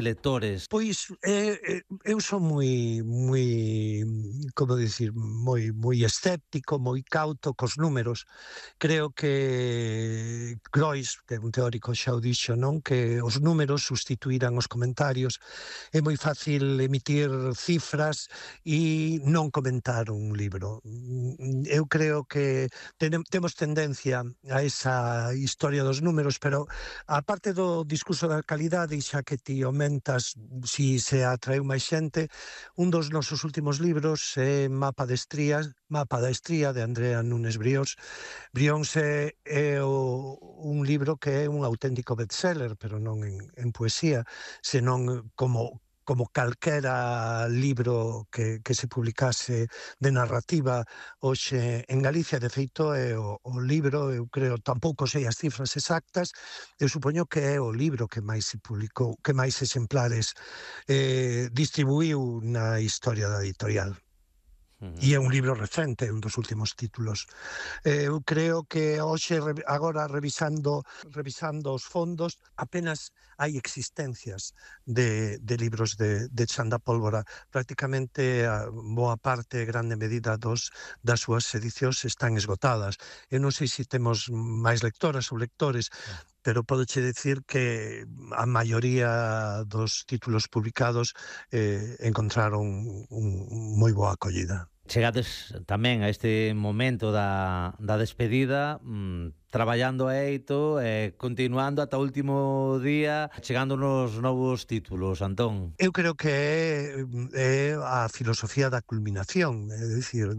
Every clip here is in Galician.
lectores? Pois eu son como dicir, moi escéptico, moi cauto cos números. Creo que Groys, que é un teórico, xa o dixo, non? Que os números sustituirán os comentarios. É moi fácil emitir cifras e non comentar un libro. Eu creo que temos tendencia a esa historia dos números, pero a parte do discurso da calidade, xa que ti aumentas si se atraeu máis xente, un dos nosos últimos libros é Mapa da Estría, de Andrea Nunes Brións. Brións un libro que é un auténtico bestseller, pero non en poesía, senón como calquera libro que se publicase de narrativa hoxe en Galicia. De feito, é o libro, eu creo, tampouco sei as cifras exactas, eu supoño que é o libro que máis se publicou, que máis exemplares distribuíu na historia da editorial. E é un libro recente, un dos últimos títulos. Eu creo que hoxe, agora revisando os fondos, apenas hai existencias de libros de Chan da Pólvora. Prácticamente a boa parte, grande medida das súas edicións están esgotadas. Eu non sei se temos máis lectoras ou lectores, pero podoche dicir que a maioría dos títulos publicados encontraron moi boa acollida. Chegades tamén a este momento da despedida, traballando a eito, continuando ata o último día, chegando nos novos títulos, Antón. Eu creo que é a filosofía da culminación, é dicir,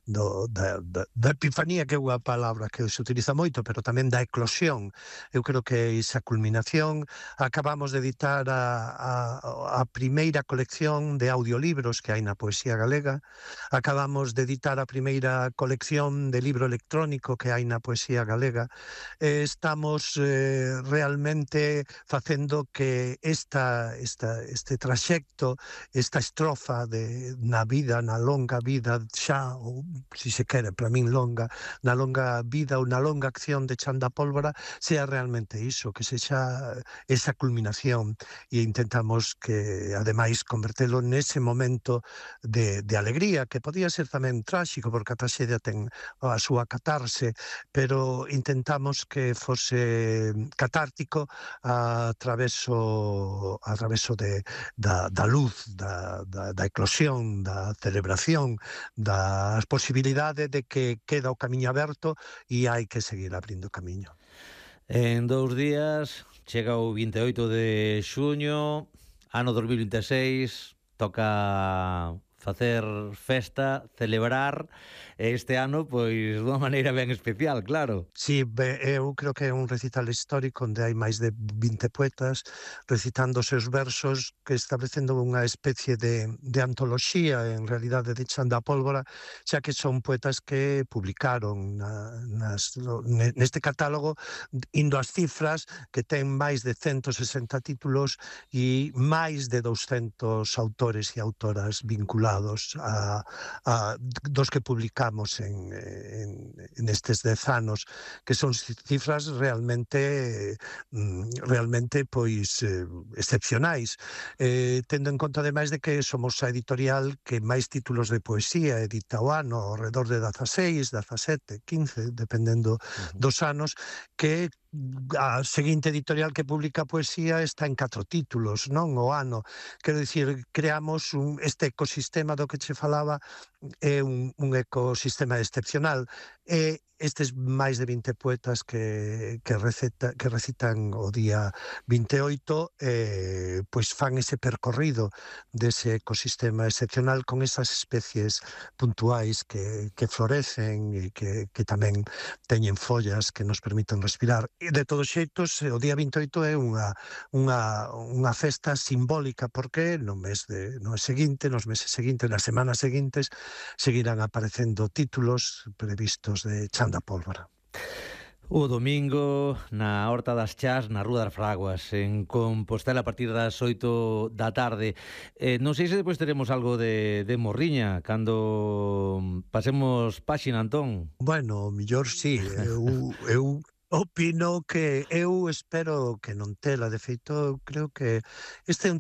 da epifanía, que é unha palabra que se utiliza moito, pero tamén da eclosión. Eu creo que esa culminación, acabamos de editar a primeira colección de audiolibros que hai na poesía galega, acabamos de editar a primeira colección de libro electrónico que hai na poesía galega. Estamos realmente facendo que este traxecto, esta estrofa na vida, na longa vida xa, ou se se quere, para min longa, na longa vida ou na longa acción de Chan da Pólvora, sea realmente iso, que sexa esa culminación, e intentamos que, ademais, convertelo nese momento de alegría, que podía ser tamén tráxico, porque a traxedia ten a súa catarse, pero intentamos que fose catártico a traveso da luz, da eclosión, da celebración, da posibilidade de que queda o camiño aberto e hai que seguir abrindo camiño. En 2 días chega o 28 de xuño, ano 2026, toca facer festa, celebrar este ano, pois, dunha maneira ben especial, claro. Sí, eu creo que é un recital histórico onde hai máis de 20 poetas recitando os seus versos, que establecendo unha especie de antoloxía, en realidade, de Chan da Pólvora, xa que son poetas que publicaron neste catálogo, indo ás cifras, que ten máis de 160 títulos e máis de 200 autores e autoras vinculados dos que publicamos nestes 10 anos, que son cifras realmente pois excepcionais, tendo en conta ademais de que somos a editorial que máis títulos de poesía edita o ano, ao redor de 16, 17, 15, dependendo dos anos, que a seguinte editorial que publica poesía está en 4 títulos, non, o ano. Quero dicir, creamos este ecosistema do que che falaba, é un ecosistema excepcional. E estes máis de 20 poetas que recitan o día 28, pois fan ese percorrido dese ecosistema excepcional con esas especies puntuais que florecen e que tamén teñen follas que nos permiten respirar. E de todos xeitos, o día 28 é unha festa simbólica, porque no mes seguinte, nos meses seguintes, nas semanas seguintes, seguirán aparecendo títulos previstos de Chan da Pólvora. O domingo na Horta das Chás, na Rúa das Fraguas, en Compostela, a partir das 8 da tarde. Non sei se depois teremos algo de morriña cando pasemos páxina, Antón. Bueno, mellor sí. Eu Opino que eu espero que non tela, de feito, eu creo que este é un